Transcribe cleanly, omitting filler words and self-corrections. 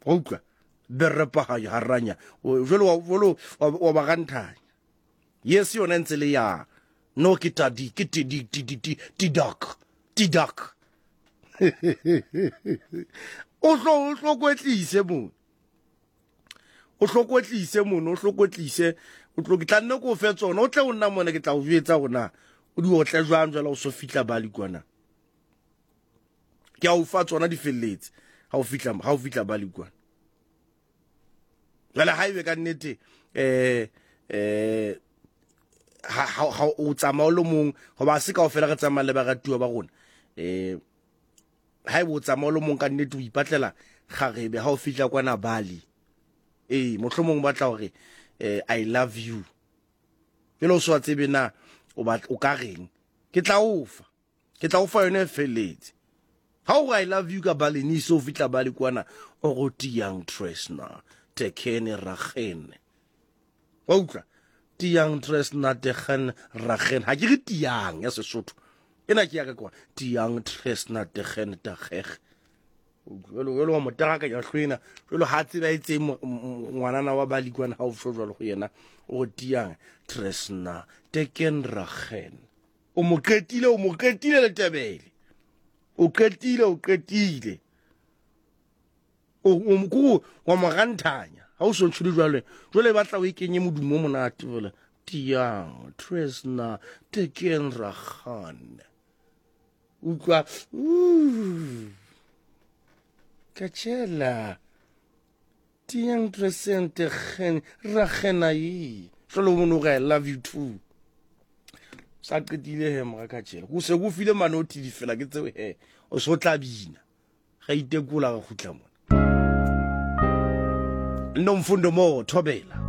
Wa utlwa? Berepahaya haranya. Jwale wa jwale wa ba ganthanya. Yes yona e ntse le ya. No ke tadi ke tedi ti ti ti dak. Ti dak. O hlo o hlo kwetlise mo. O hlo kwetlise mono, o hlo kwetlise. O tlo ke tla nne ko fe tsona, o tle o nna mona ke tla o jwetsa hore na o di otle jwang jwale o so fihla Bali kwana. Ke a o fa tsona di felletse ha o fihla ha o fihla Bali kwana. Jwale ha ebe ka nnete eh eh ha ha o tsamaya o le mong hoba se kaofela re tsamaya le baratuwa ba rona eh ha ebe o tsamaya o le mong ka nnete o ipatlela kgarebe ha o fihla kwana Bali ee mohlomong o batla hore eh, I love you jwale o sa tsebe na o batla o ka reng ke tla o fa ke tla o fa yone e felletse ha o re I love you ka Balinese o fihla Bali kwana o go tiang tresna tekene ragene wa utlwa tiang tresna tegen ragen ha ke re tiang ya Sesotho ena ke ya ka kwa tiang tresna tegen tageg jalo jalo wa mo tarakanya hlwena jalo ha tseba e tse ngwanana wa Bali kwana ha o sho jalo go yena o re tiang tresna teken ragen o mo qetile o mo qetile letebele o qetile o qetile o o ko wa mo ranthanya ha o so ntshole jwale jwale e batla o e kenye modumo o monate fela tiang tresna teken ragan utlwa kachela tiang tresen tegen ragena yi jwale o mono re I love you too sa qetile he mora kachela go se go file manothi difela ke tseo he o so tla bina Ga itekola ga gutla mona. Nomfundo mo thobela.